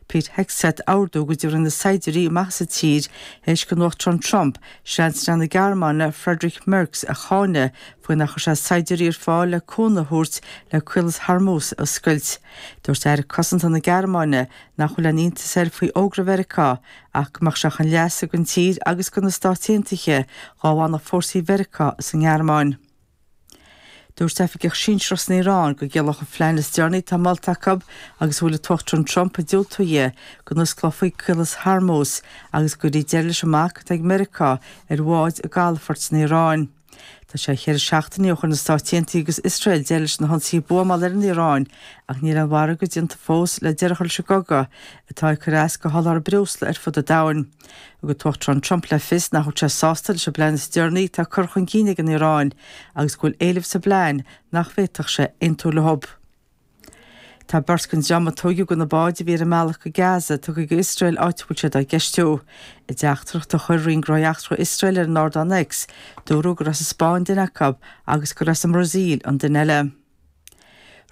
Pete Hegseth ordú go dtabharfaí na saighdiúirí amach as an tír théis don Uachtarán Trump Seansailéir na Gearmáine Friedrich Merz a cháineadh faoi nár chuir sé saighdiúirí ar fáil le cúnamh a thabhairt le Caolas Hormuz a oscailt. Dúirt Aire Cosanta na Gearmáine nach bhfuil aon iontas air faoi fhógra Mheiriceá ach go mbeadh sé chun leasa don tír agus do na Stáit Aontaithe dhá bhfanfadh fórsaí Mheiriceá sa nGearmáin. Dúirt oifigeach sinsearach san Iaráin go gciallódh an phlean is deireanaí atá molta acu agus a bhfuil an tUachtarán Trump ag diúltú di go n-osclófaí Caolas Hormuz agus go gcuirfí deireadh leis an mbac atá ag Meiriceá ar bháid i gcalafoirt na hIaráin. Tá sé cheithre seachtainí ó chuir na Stáit Aontaithe agus Iosrael deireadh leis na hionsaithe buamála ar an Iaráin ach níl aon mhargadh déanta fós le deireadh a chur leis an gcogadh atá ag cur as do sholáthar breosla ar fud an domhain. Thug an tUachtarán Trump le fios nach bhfuil sé sásta leis an bplean is deireanaí atá curtha chun cinn ag an Iaráin agus go bhfuil éilimh sa bplean nach bhféadfadh sé aontú leo. Tá beirt den dream a tóigeadh de na báid a bhí ar a mbealach go Gaza tugtha go Iosrael áit a bhfuil siad á gceistiú. I dteachtaireacht a chuir Roinn Gnóthaí Eachtracha Iosrael ar an ardán X, dúradh gur as an Spáinn duine acu agus gur as an mBrasaíl an duine eile.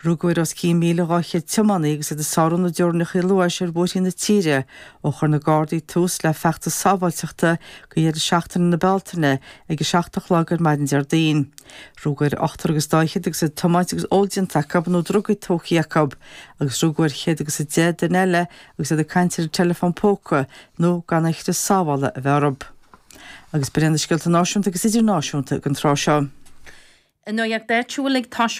Rugadh ar os cionn 1,200 tiománaí agus iad ag sárú na dteorainneacha luais ar bhóithrí na tíre ó chuir na Gardaí tús le feachtas sábháilteachta go dheireadh seachtaine na Bealtaine ag 7 a chlog ar maidin Déardaoin. Rugadh ar ochtar agus dá fhichead agus iad ag tiomáint agus ól déanta acu nó drugaí tógtha acu agus rugadh ar 110 duine eile agus iad ag caint ar an teileafón póca nó gan aon chrios sábhála a bheith orthu. Agus b'in iad na scéalta náisiúnta agus idirnáisiúnta don tráth seo. Nuacht áitiúil ag toiseacht.